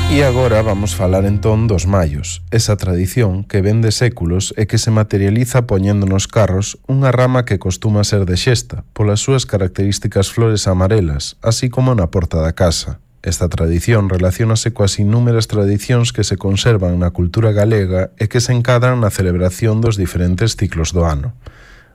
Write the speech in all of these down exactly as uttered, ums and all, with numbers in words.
E agora vamos falar entón dos maios, esa tradición que vén de séculos e que se materializa poñendo nos carros unha rama que costuma ser de xesta, polas súas características flores amarelas, así como na porta da casa. Esta tradición relaciónase coas innúmeras tradicións que se conservan na cultura galega e que se encadran na celebración dos diferentes ciclos do ano.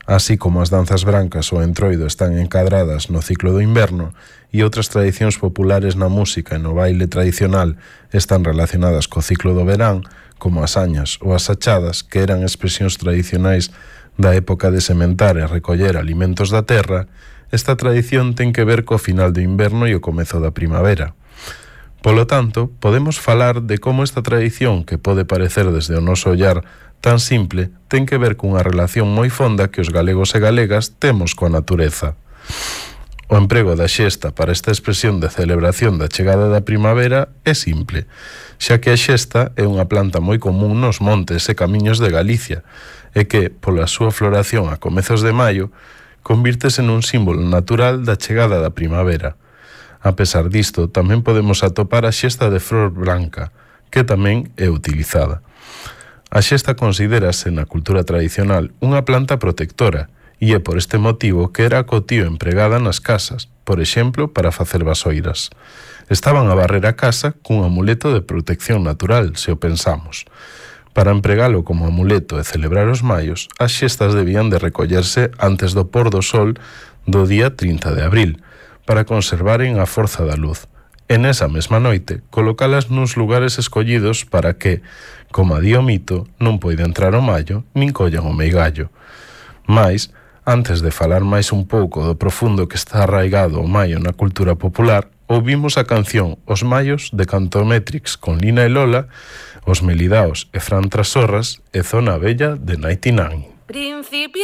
Así como as danzas brancas ou entroido están encadradas no ciclo do inverno e outras tradicións populares na música e no baile tradicional están relacionadas co ciclo do verán, como as añas ou as achadas, que eran expresións tradicionais da época de sementar e recoller alimentos da terra, esta tradición ten que ver co final do inverno e o comezo da primavera. Polo tanto, podemos falar de como esta tradición, que pode parecer desde o noso ollar tan simple, ten que ver cunha relación moi fonda que os galegos e galegas temos coa natureza. O emprego da xesta para esta expresión de celebración da chegada da primavera é simple, xa que a xesta é unha planta moi común nos montes e camiños de Galicia e que, pola súa floración a comezos de maio, convírtese nun símbolo natural da chegada da primavera. A pesar disto, tamén podemos atopar a xesta de flor branca, que tamén é utilizada. A xesta considérase na cultura tradicional unha planta protectora e é por este motivo que era a cotío empregada nas casas, por exemplo, para facer vasoiras. Estaban a barrer a casa cun amuleto de protección natural, se o pensamos. Para empregalo como amuleto e celebrar os maios, as xestas debían de recollerse antes do pôr do sol do día trinta de abril, para conservaren a forza da luz. E nesa mesma noite, colocalas nuns lugares escollidos para que, como a di o mito, non poida entrar o maio, nin collan o meigallo. Mais, antes de falar máis un pouco do profundo que está arraigado o maio na cultura popular, ouvimos a canción Os Maios de Cantometrix con Lina e Lola, Os Melidaos e Fran Trasorras e Zona Bella de noventa e nove. Principio